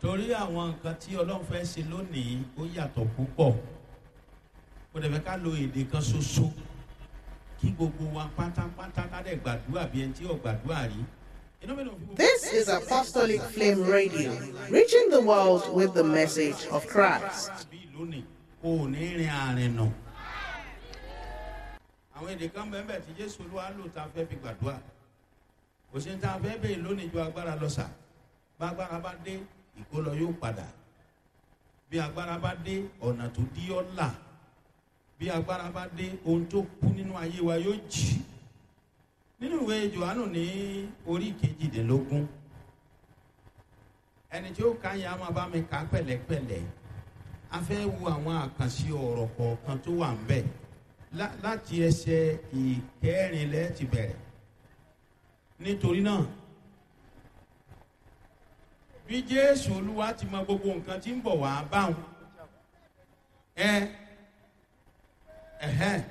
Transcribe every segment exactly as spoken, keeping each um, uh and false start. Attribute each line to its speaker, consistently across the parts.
Speaker 1: Torí àwọn nǹkan tí Ọlọ́run fẹ́ ṣe lónìí ó yàtọ̀ púpọ̀. Kò dẹ̀ fẹ́ ká lo èdè kan ṣoṣo kí gbogbo wa pátápátá ká dẹ̀ gbàdúrà bí ẹni tí ò gbàdúrà rí. Inú mi dùn fún gbogbo.
Speaker 2: This is Apostolic Flame Radio, reaching the world with the message of Christ.
Speaker 1: Bí lónìí kò ní rin àárín nù. Àwọn èdè kan bẹ́ẹ̀ bẹ́ẹ̀ tí Jésù Olúwa lò tá a fẹ́ fi gbàdúrà. Kò sí ní tá a fẹ́ bèèrè lónìí ju agbára lọ sà. Bá agbára bá dé, ìkólọ yóò padà. Bí agbára bá dé, ọ̀nà tó dí ọ́ là. Bí agbára bá dé, ohun tó kú nínú ayé wa yóò jì. Nínú ìwé Jòhánù ní orí kejìdínlógún, ẹni tí ó ka yẹn a máa bá mi kà pẹ̀lẹ́pẹ̀lẹ́. A fẹ́ wo àwọn àkànṣe ọ̀rọ̀ kọ̀ọ̀kan tó wà ń bẹ̀ Lá- láti ẹsẹ̀ ìkẹrin lẹ́ẹ̀ ti bẹ̀rẹ̀. Nítorí náà, bí Jésù Olúwa ti mọ gbogbo nǹkan tí ń bọ̀ wá báwọn, ẹ ẹ̀hẹ́n,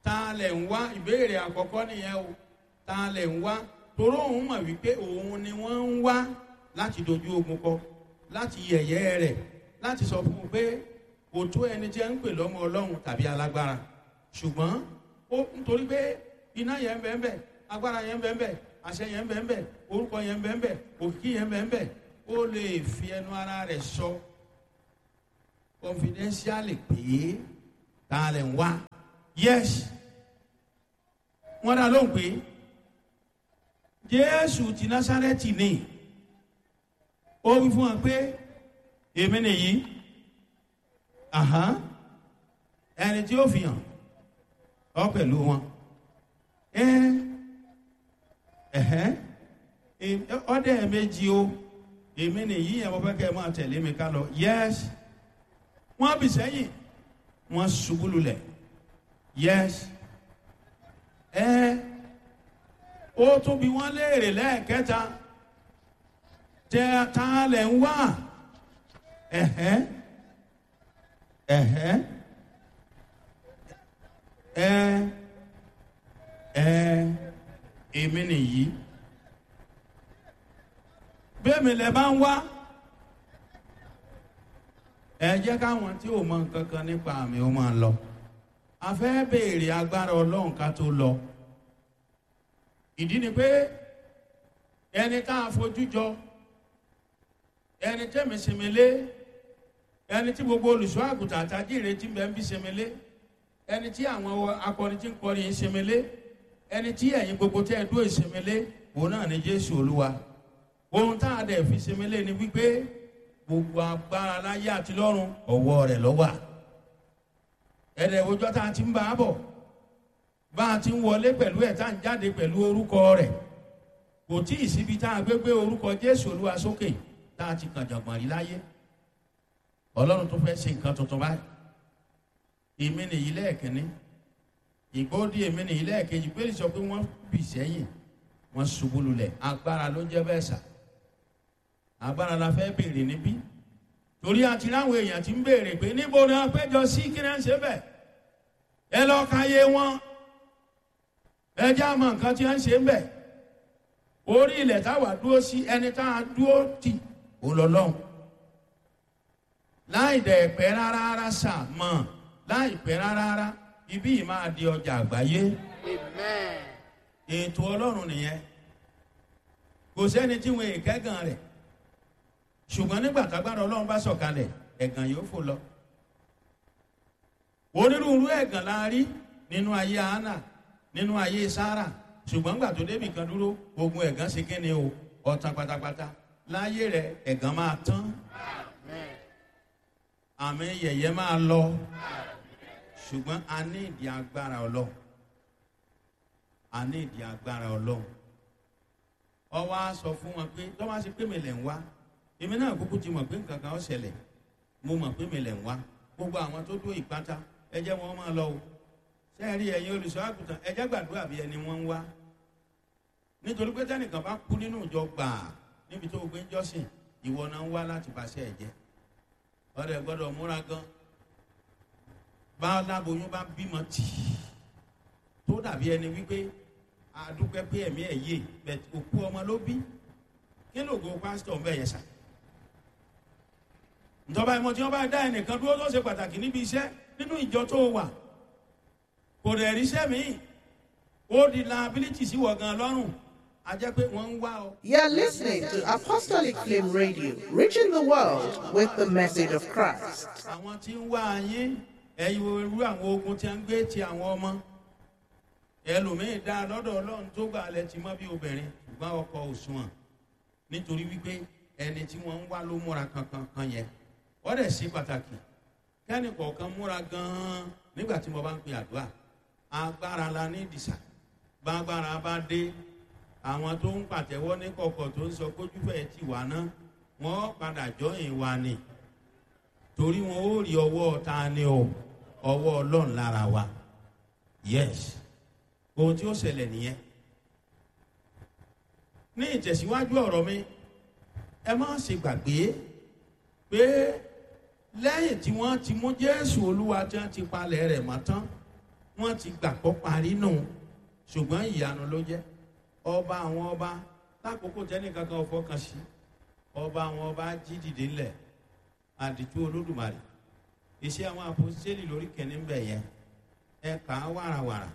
Speaker 1: ta lẹ̀ ń wá? Ìbéèrè àkọ́kọ́ nìyẹn o. Ta lẹ̀ ń wá? Toró òun mọ̀ wípé òun ni wọ́n ń wá láti dojú ogun kọ, láti yẹ̀yẹ́ rẹ̀, láti sọ fún un pé kò tó ẹni tí ẹ ń pè lọ́mọ Ọlọ́run tàbí alágbára. Ṣùgbọ́n ó nítorí pé iná yẹn ń bẹ ń bẹ, agbára yẹn ń bẹ ń bẹ, àṣẹ yẹn ń bẹ ń bẹ, orúkọ yẹn ń bẹ ń bẹ, òkìkí yẹn ń bẹ ń bẹ, ó lè fi ẹnu ara rẹ̀ sọ confidentially pé ta lẹ̀ ń wá. Yes, wọ́n dá lóhùn pé Jésù ti Násárẹ́tì ni. Ó wí fún wọn pé èmi nìyí. Àhán, ẹni tí ó fi hàn ọ pẹ̀lú wọn. Ẹ ẹ̀hẹ́n, ọdẹ méjì o, èmi nìyí yẹn, mo fẹ́ kẹ́ ẹ máa tẹ̀lé mi ká lọ. Yes, wọ́n bì sẹ́yìn, wọ́n ṣubú lulẹ̀. Yes, ẹ ó tún bí wọ́n léèrè lẹ́ẹ̀kẹta, tẹ ta lẹ̀ ń wá? Ẹ̀hẹ́n, ẹ̀hẹ́n, ẹ ẹ èmi nìyí. Bẹ́ẹ̀mi lẹ bá ń wá, ẹ jẹ́ káwọn tí ò mọ nǹkan kan nípa àmì ó máa lọ. A fẹ́ béèrè agbára Ọlọ́run ká tó lọ. Ìdí ni pé ẹni tá a fojú jọ, ẹni tẹ́mi sinmi lé, ẹni tí gbogbo olùṣọ́ àgùntàn àtàjìrè tí ń bẹ ń bí sinmi lé, ẹni tí àwọn akọrin tí ń kọrin yìí sinmi lé, ẹni tí ẹ̀yin gbogbo tẹ́ ẹ dúró ìsinmi lé, òun náà ni Jésù Olúwa. Ohun tá a dẹ̀ fi sinmi lé ni wípé gbogbo agbára láyé àti lọ́run, ọwọ́ rẹ̀ ló wà. Ẹ̀rẹ̀ òjò tá a ti ń bá a bọ̀, bá a ti ń wọlé pẹ̀lú ẹ̀ tá a ń jáde pẹ̀lú orúkọ rẹ̀, kò tí ì síbi tá a gbé gbé orúkọ Jésù Olúwa sókè tá a ti kàn jàngbọ̀n rí láyé. Ọlọ́run tó fẹ́ ṣe nǹkan tuntun báyìí. Èmi nìyí lẹ́ẹ̀kínní, ìgbóòdì èmi nìyí lẹ́ẹ̀kejì. Pé sọ pé wọ́n bì sẹ́yìn, wọ́n ṣubú lulẹ̀. Agbára ló jẹ́ bẹ́ẹ̀ sà. Agbára la fẹ́ béèrè níbí, torí àti ráwọn èèyàn ti ń béèrè pé níbo ni wọ́n péjọ sí, kí náà ń ṣe bẹ́ẹ̀. Ẹ lọ ka yé wọn, ẹ jẹ́ àmọ́ nǹkan tí wọ́n ń ṣe ń bẹ̀. Orí ilẹ̀ táwa dúró sí, ẹni tá a dúró tì ó lọ lọ́hùn. Láì dẹ̀ pẹ́ rárá rárá sà mọ̀, láì pẹ́ rárá rárá, ibí yìí máa di ọjà àgbáyé.
Speaker 3: Amen.
Speaker 1: Ètò Ọlọ́run nìyẹn. Kò sẹ́ni tí wọn èkẹ́gàn rẹ̀, ṣùgbọ́n nígbà tágbára Ọlọ́run bá sọ̀kalẹ̀, ẹ̀gàn yóò fò lọ. Onírúurú ẹ̀gàn la rí nínú ayé Hánà, nínú ayé Sárà, ṣùgbọ́n nígbà tó débì kan dúró, ogun ẹ̀gàn ṣe kíni o, ọ̀tàn pátápátá. Láyé rẹ̀, ẹ̀gàn máa tán.
Speaker 3: Amen.
Speaker 1: Àmì yẹ̀yẹ́ máa lọ, ṣùgbọ́n a ní ìdí agbára Ọlọ́run. A ní ìdí agbára Ọlọ́run. Ọwọ́ á sọ fún wọn pé tọ́wọ́ á ṣe pé mi lẹ̀ ń wá, èmi náà kúkú ti mọ̀ pé nǹkan kan ó ṣẹlẹ̀. Mo mọ̀ pé mi lẹ̀ ń wá. Gbogbo àwọn tó dó ìpátá, ẹ jẹ́ wọn máa lọ o. Ṣé ẹ rí ẹ̀yin olùṣọ́ àgùntàn, ẹ jẹ́ gbàdúrà bí ẹni wọ́n ń wá. Nítorí pé tẹ́nìkan bá kú nínú ìjọ gbàá níbi tó o gbé ń jọ́sìn, ìwọ náà ń wá láti bàṣẹ ẹ̀ jẹ́. Ọ̀rẹ́ gbọ́dọ̀ múra gan. Bá láboyún bá bímọ tì í tó dàbí ẹni wípé àdúpẹ́ pé ẹ̀mí ẹ̀ yé, bẹ̀t òkú ọmọ ló bí. Kí lóògùn pásítọ̀ ń bẹ̀ yẹn sà? Ntọ́ba ìmọ̀ tí wọ́n bá dá ẹnìkan dúró tó ṣe pàtàkì níbi iṣẹ́ nínú ìjọ tó wà, kò dẹ̀ ríṣẹ́ míì, ó di liability sí wọ̀ gan lọ́rùn. A jẹ́ pé wọ́n ń wá ọ.
Speaker 2: You're listening to Apostolic Flame Radio, reaching the world with the message of Christ.
Speaker 1: Àwọn tí ń wá yín, ẹ̀yin irú àwọn ogun tí a ń gbé ti àwọn ọmọ ẹlòmíín dá lọ́dọ̀ Ọlọ́run tó gbà lẹ ti mọ́ bí obìnrin, ṣùgbọ́n ọkọ òṣùwọ̀n, nítorí wípé ẹni tí wọ́n ń wá ló múra kankan kan yẹn. Wọ́n dẹ̀ ṣe pàtàkì kẹ́ni kọ̀ọ̀kan múra gan-an nígbà tí mo bá ń pe àdúrà. Agbára la ní ìdìsà. Gbàgbára bá dé, àwọn tó ń pàtẹ́wọ́ ní kọ̀kọ̀ tó ń sọ kójúfẹ́ ti wà náà, wọ́n padà jọyìn wa ni, torí wọn ó rí ọwọ́ ta ni o, ọwọ́ Ọlọ́run lára wa. Yes, ohun tí ó ṣẹlẹ̀ nìyẹn. Ní ìtẹ̀síwájú ọ̀rọ̀ mi, ẹ má ṣe gbàgbé pé lẹ́yìn tí wọ́n ti mú Jésù Olúwa tí wọ́n ti palẹ̀ rẹ̀ mọ́ tán, wọ́n ti gbàgbọ́ parí nù, ṣùgbọ́n ìyanu ló jẹ́. Ọba àwọn ọba, lákòókò tẹ́nìkan kan fọkàn sí, ọba àwọn ọba jí dìde ńlẹ̀, àdìtú Olódùmarè. Iṣẹ́ àwọn àpòsílẹ̀ lórí kẹ́ni ń bẹ̀ yẹn, ẹ kà á wàràwàrà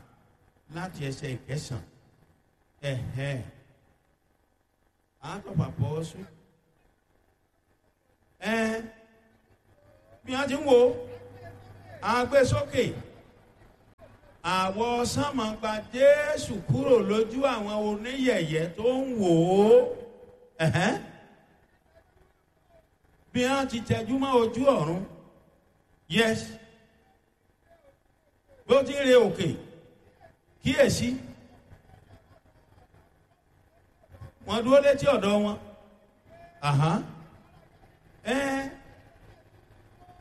Speaker 1: láti ẹsẹ̀ ìkẹsàn. Ẹ̀hẹ́, àtọ̀pàpọ̀ sùn ẹ bí wọ́n ti ń wo agbésókè àwọ̀ sánmọ̀ gba Jésù kúrò lójú àwọn oníyẹ̀yẹ́ tó ń wò ó. Ẹ̀hẹ́n, bí wọ́n ti tẹjú mọ́ ojú ọ̀run. Yes, bó ti ń re òkè, kíyèsí, wọ́n dúró létí ọ̀dọ̀ wọn. Àhán, ẹ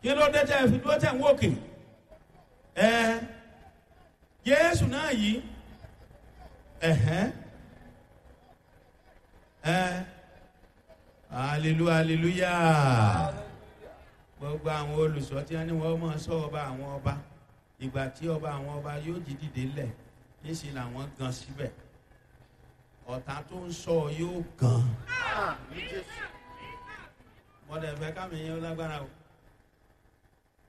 Speaker 1: kí ló dé tẹ́ fi dúró tẹ́ ń wòkè? Ẹ Jésù náà yìí, ẹ̀hẹ́n, ẹ hallelujah, hallelujah. Gbogbo àwọn olùsọ tí wọ́n ní wọ́n máa sọ ọba àwọn ọba, ìgbà tí ọba àwọn ọba yóò jí dìde lẹ̀, níṣẹ́ làwọn gan síbẹ̀. Ọ̀tá tó ń sọ yóò gan. Mọ̀dẹ̀ fẹ́ kámi yẹn lágbára o.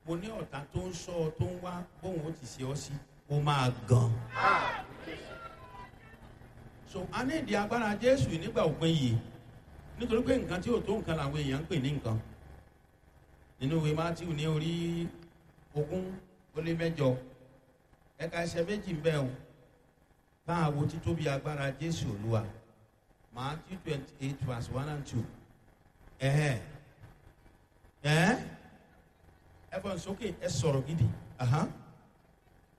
Speaker 1: Mo ní ọ̀tá tó ń sọ tó ń wá bóun ó ti ṣe ọ́ sí, ó máa gan. So a ní ìdí agbára Jésù nígbà òpin yìí, nítorí pé nǹkan tí ò tó nǹkan làwọn èèyàn ń pè ní nǹkan. Nínú ìwé Mátíù ní orí ogún ó lé mẹ́jọ, ẹ̀ka ẹsẹ̀ méjì ń bẹ o, bá a wo títóbi agbára Jésù Olúwa. Matthew twenty eight verse one and two. Ẹ̀hẹ́n, ẹ̀hẹ́n, ẹ fọ́n sókè, ẹ sọ̀rọ̀ gidi. Ahan,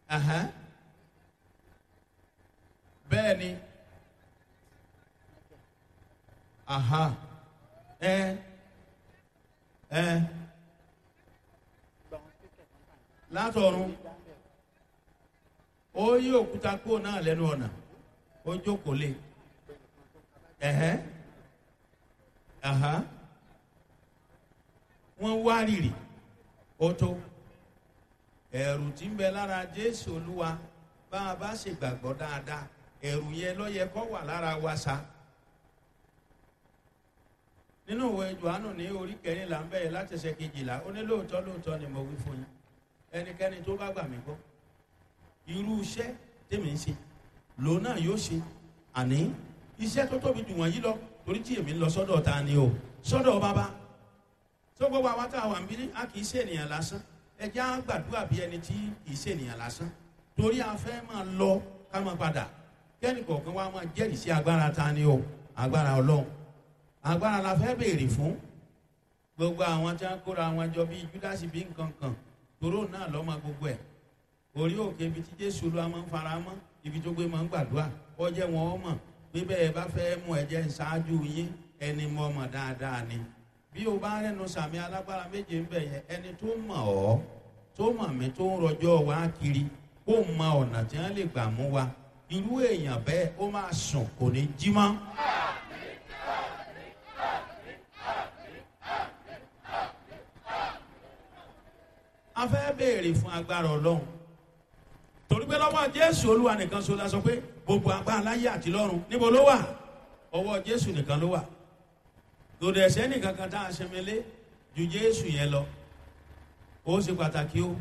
Speaker 1: ahan, bẹ́ẹ̀ ni, aha, ẹ ẹ látọ̀run ó yí òkúta kúrò náà lẹ́nu ọ̀nà, ó jókòó lé. Ẹ̀hẹ́, aha, wọ́n wá rìrì. Ó tó ẹ̀rù tí ń bẹ lára Jésù Olúwa. Bá a bá ṣe gbàgbọ́ dáadáa, ẹ̀rù yẹn ló yẹ kó wà lára wa sa. Nínú ìwé Jòhánù ní orí kẹrìnlá ń bẹ̀rẹ̀ láti ẹsẹ̀ kejìlá, ó ní lóòótọ́ lóòótọ́ ni mo wí fún yín, ẹnikẹ́ni tó bá gbà mí gbọ́, irú iṣẹ́ tèmi ń ṣe lòun náà yóò ṣe, àní iṣẹ́ tó tóbi jù wọ̀nyí lọ, torí tí èmi ń lọ sọ́dọ̀ ta ni o, sọ́dọ̀ bàbá. Tó gbogbo àwa tá a wà ń bí, a kì í ṣe ènìyàn lásán. Ẹ jẹ́ á gbàdúrà bí ẹni tí kì í ṣe ènìyàn lásán, torí a fẹ́ máa lọ ká máa padà, kẹ́ni kọ̀ọ̀kan wa máa jẹ́rìí sí agbára ta ni o, agbára Ọlọ́run. Agbára la fẹ́ béèrè fún. Gbogbo àwọn tí wọ́n kóra wọn jọ bíi Júdásì bí nǹkan kan, toró náà lọ́mọ gbogbo ẹ̀. Orí òkè ibi tí Jésù Olúwa máa ń fara mọ́, ibi tó gbé máa ń gbàdúrà, kọjá wọn ọmọ pé bẹ́ẹ̀ bá fẹ́ mú ẹ̀jẹ̀ ṣáájú yín, ẹni mọ̀ ọmọ dáadáa ni. Bí o bá rẹnu sàmì alágbára méje ń bẹ̀ yẹn, ẹni tó mọ̀ ọ́, tó mọ̀ mí, tó ń rọjọ́ wa kiri, kó mọ ọ̀nà tí wọ́n lè gbà mú wa, irú èèyàn bẹ́ẹ̀ ó máa sùn kò ní jí mọ́. A fẹ́ béèrè fún agbára Ọlọ́run, torí pé lọ́wọ́ Jésù Olúwa nìkan ṣo la sọ pé gbogbo agbára láyé àti lọ́run níbo ló wà? Ọwọ́ Jésù nìkan ló wà. Lòdì ẹ̀sẹ̀ nìkan kan tá a ṣẹmẹlé Ju Jésù yẹn lọ. Ó ṣe pàtàkì o.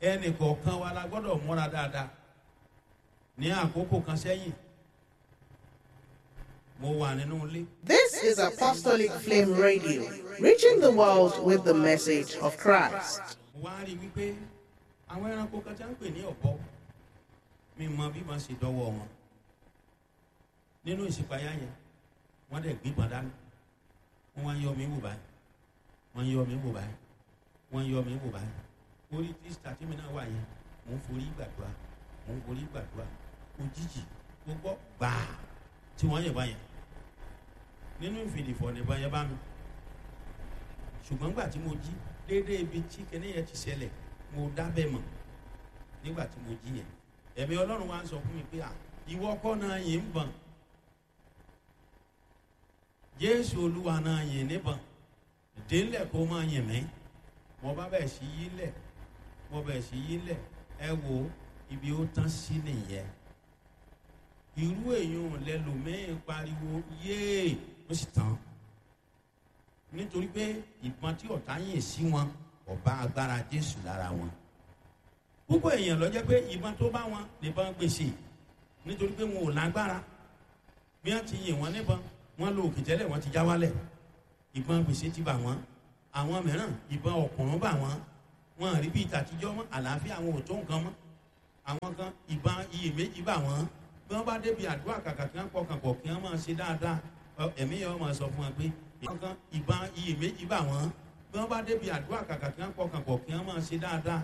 Speaker 1: Ẹnì kọ̀ọ̀kan wa la gbọ́dọ̀ múra dáadáa. Ní àkókò kan sẹ́yìn, mo wà nínú ilé.
Speaker 2: This is Apostolic Flame Radio, reaching the world with the message of Christ.
Speaker 1: Mo wá rí i wípé àwọn ẹranko kan tí wọ́n ń pè ní ọ̀bọ, mi mọ bí wọ́n ṣe dọ́wọ́ wọn nínú ìṣípayá yẹn. Wọ́n dẹ̀ gbígbọn dání, wọ́n wá ń yọ mí wò báyìí, wọ́n ń yọ mí wò báyìí, wọ́n ń yọ mí wò báyìí. Orí tíṣà tí mi náà wà yẹn, mò ń forí gbàdúrà, mò ń forí gbàdúrà. Òjijì mo gbọ́ gbàá tí wọ́n yẹ̀ báyẹn nínú ìfìdìfọ̀ nìbọn yẹn bá mi. Ṣùgbọ́n gbà tí mo jí déédéé ibi tí kinní yẹn ti ṣẹlẹ̀, mo dábẹ́ mọ̀. Nígbà tí mo jí yẹn, ẹ̀mí Ọlọ́run wa ń sọ fún mi pé, à, ìwọ kọ́ náà yìí ń bọ̀n, Jésù Olúwa náà yìí níbọ̀n, délẹ̀ kó máa yìn mí. Mo bá bẹ̀ sí yí lẹ̀, mo bẹ̀ sí yí lẹ̀. Ẹ wo ibi ó tán sí nìyẹn. Irú èèyàn lẹlòmíín pariwo yéè, ó sì tán, nítorí pé ìbọn tí ọ̀tá yìn sí wọn ọba agbára Jésù lára wọn. Púpọ̀ èèyàn ló jẹ́ pé ìbọn tó bá wọn nìbọn gbèsè, nítorí pé wọn ò lágbára. Bí wọ́n ti yìn wọ́n níbọn, wọ́n lo òkè tẹ́lẹ̀, wọ́n ti já wálẹ̀, ìbọn gbèsè ti bà wọ́n. Àwọn mìíràn, ìbọn ọ̀kùnrin bà wọ́n, wọn rí bí ìtàtijọ́ mọ́, àlàáfíà àwọn ò tó nǹkan mọ́. Àwọn kan, ìbọn iyèméjì bà wọ́n. Bí wọ́n bá débi àdúrà, kàkà kí wọ́n pọkàn pọ̀ kí wọ́n máa ṣe dáadáa, ẹ̀mí yẹn wọ́n máa sọ fún wọn pé àwọn kan, ìbọn iyèméjì bà wọ́n. Bí wọ́n bá débi àdúrà, kàkà kí wọ́n pọkàn pọ̀ kí wọ́n máa ṣe dáadáa.